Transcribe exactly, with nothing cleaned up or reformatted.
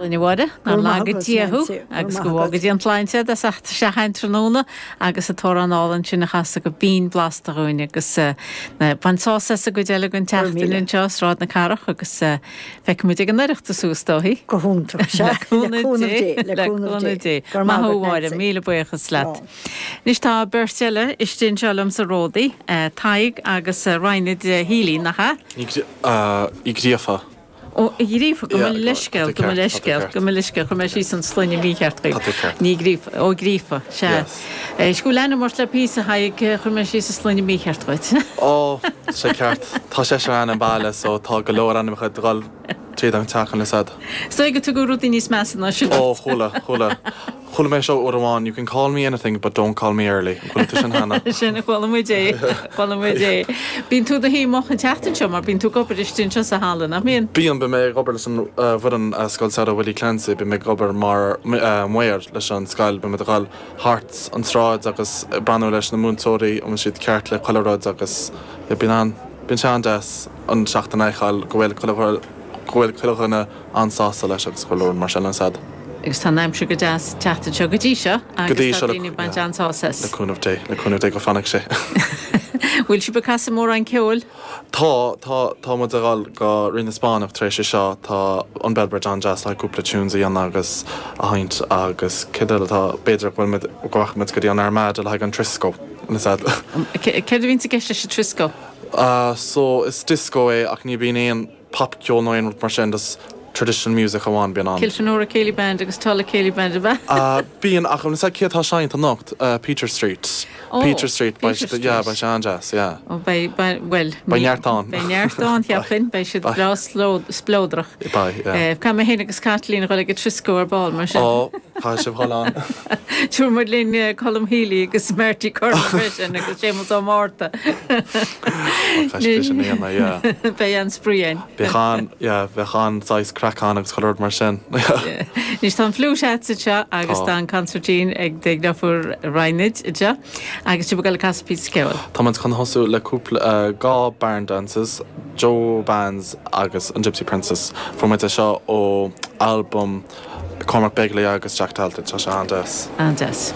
Álainn, a Mháire, nár laga Dia thú agus go bhfága Dia an tsláinte as ucht seachain tráthnóna agus an t-amhrán álainn sin a chasadh go binn blasta dhúinn agus bain sásamh as an gcuid eile den tseachtain anseo Sráid na Cathrach agus feicfimid ag an Oireachtas thú is dóichí. Go hiontach Le cúnamh Dé le cúnamh Dé. Maith thú a Mháire, míle buíochas leat. Anois tá beirt eile istigh anseo liom sa Ródaí, Tadhg agus Raonaid Healy, nach ea? Uí Ghríofa. Ó, Uí Ghríofa, gabh mo leithscéal, gabh mo leithscéal, gabh mo leithscéal, chuir mé síos an sloinne mícheart chuig. Ní Ghríofa, Ó Gríofa, sea. Is go bhfuil ainm ort le píosa, Thaidhg, chuir mé síos an sloinne mícheart dhuit. Ó, sé ceart. Tá seisear againn an baile so tá go leor ainmneacha ag dul tríd an teach an fhios a'd. Is dóigh go tugadh rudaí níos measa ná sin ort. Ó, chuala, chuala. Chuala mé seo uair amháin, you can call me anything but don't call me early. An chuala tú sin cheana? Sin, chuala muid é, chuala muid é. Bíonn tú i do shuí moch an tseachtain seo mar bíonn tú ag obair istigh anseo sa halla, nach mbíonn? Bíonn, bíonn mé ag obair leis an bhfoireann Scoil Samhraidh Willie Clancy, bíonn mé ag obair mar maor leis an scoil, bíonn muid ag dul thart an tsráid agus ag breathnú leis na múinteoirí an bhfuil siad ceart le chuile rud agus bíonn an, bíonn sé an-deas an seachtain a fheiceáil go bhfuil chuile, go bhfuil chuile dhuine an-sásta leis agus chuile rud mar sin, an fhios a'd. Agus tá an aimsir go deas an tseachtain seo go dtí seo agus tá daoine ag baint an-sásamh as. Le cúnamh Dé, le cúnamh Dé go bhfanfaidh sé. Bhfuil sibh ag casadh mórán ceoil? Tá, tá, tá muid ag dul go Rí na Spáinneach tar éis seo, tá an Bellbridge an-deas le cúpla tunes a dhéanamh agus a sheinnt agus céard eile atá, b'fhéidir go bhfuil muid, go rachaidh muid go dtí an Armada le haghaidh an Trisco, an fhios a'd. Céard a bhíonns i gceist leis an Trisco? So is disco é ach ní bhíonn aon popcheol nó aon rud mar sin, just traditional music amháin bíonn ann. Kilfenora Céilí Band agus Tulla Céilí Band ab ea? Bíonn ach an fhios a'd cé atá ag seinnt anocht? Peter Street. Ó, Peter Street, beidh Peter siad, yeah, Street. beidh sé an-deas, yeah. Ó, beidh, beidh, bhuel, Beidh neart ann. Beidh neart ann, cheapfainn, beidh siad breá spleodrach. Beidh, yeah. Caithfidh mé féin agus Caitlín a dhul ag an Trisco ar ball mar sin. Ó, caithfidh sibh dhul ann. Tabharfaidh muid linn Colm Healy agus Marty Curran freisin agus Séamus Ó Márta. Caithfidh sibh sin a dhéanamh, yeah. Beidh an-spraoi ann. Bheadh an, yeah, bheadh an saghas craic ann agus chuile rud mar sin. Anois tá an fliúit a'dsa anseo agus tá an consairtín ag do dheirfiúr Raonaid anseo agus sibh ag dul ag casadh píosa ceoil. Tá muid chun thosú le cúpla, dhá Barn Dances, Joe Bands agus an Gypsy Princess. Fuair muid é seo ó albam Cormac Begley agus Jack Talton. Tá sé an-deas. An-deas.